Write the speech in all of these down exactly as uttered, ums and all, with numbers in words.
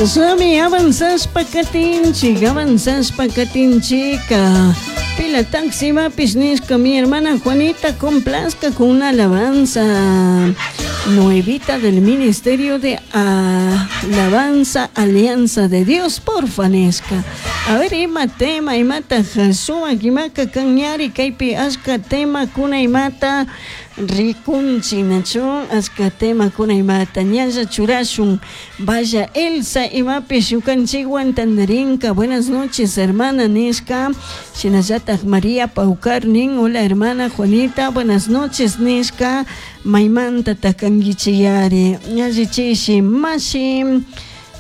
Chashnami avanzashpa katinchik, avanzashpa katinchika. Pila taxi imapish nishka mi hermana Juanita complazca con una alabanza nuevita del Ministerio de Alabanza Alianza de Dios, porfa nishka. A ver, ima tema, imata sumak imaka kan ñari kaypi ashka tema kuna imata rikunchik nachu ashka tema kuna imata ñalla churashun. Vaya Elsa imapish ñukanchikwan tandarinka. Buenas noches, hermana nishka. Shinallatak María Paucar nin, hola, hermana Juanita, buenas noches nishka. Maymanta kankichiyari allichishi mashi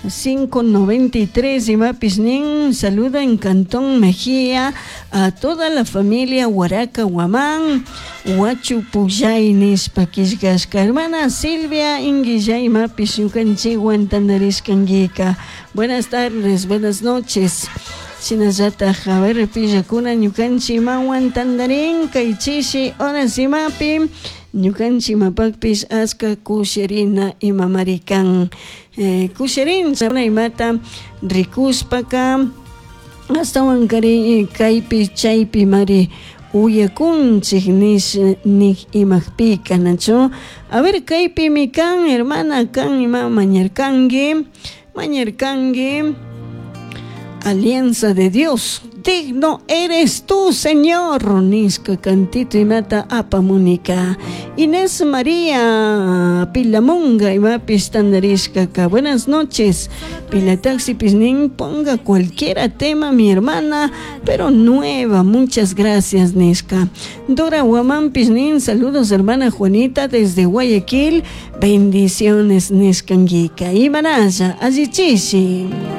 cinco noventa y tres imapish nin, saluda en Cantón Mejía a toda la familia Huaraca Guamán, Huachu Puyay nishpa killkashka. Hermana Silvia Inguilla imapish ñukanchikwan tandarishkankika. Buenas tardes, buenas noches. Shinallatak, a ver, pillakuna ñukanchik imawan tandarin kay chishi horas imapi ñukanchik imapakpish ashka kushirina imamari kan eh, kushirin imata rikushpaka ashtawankari kaypi chaypi mari uyakunchik nish nik imapika nachu. A ver, kaypimi kan hermana kan ima mañarkanki mañarkanki Alianza de Dios, "Digno eres tú, Señor", nishka cantito imata apamunika. Inés María Pilamunga imapis tandarishkaka. Buenas noches. Pila Taxi nin, ponga cualquiera tema, mi hermana, pero nueva. Muchas gracias, nishka. Dora Guamán nin, saludos, hermana Juanita, desde Guayaquil. Bendiciones, nishkanguika. Imanasha, allichishi.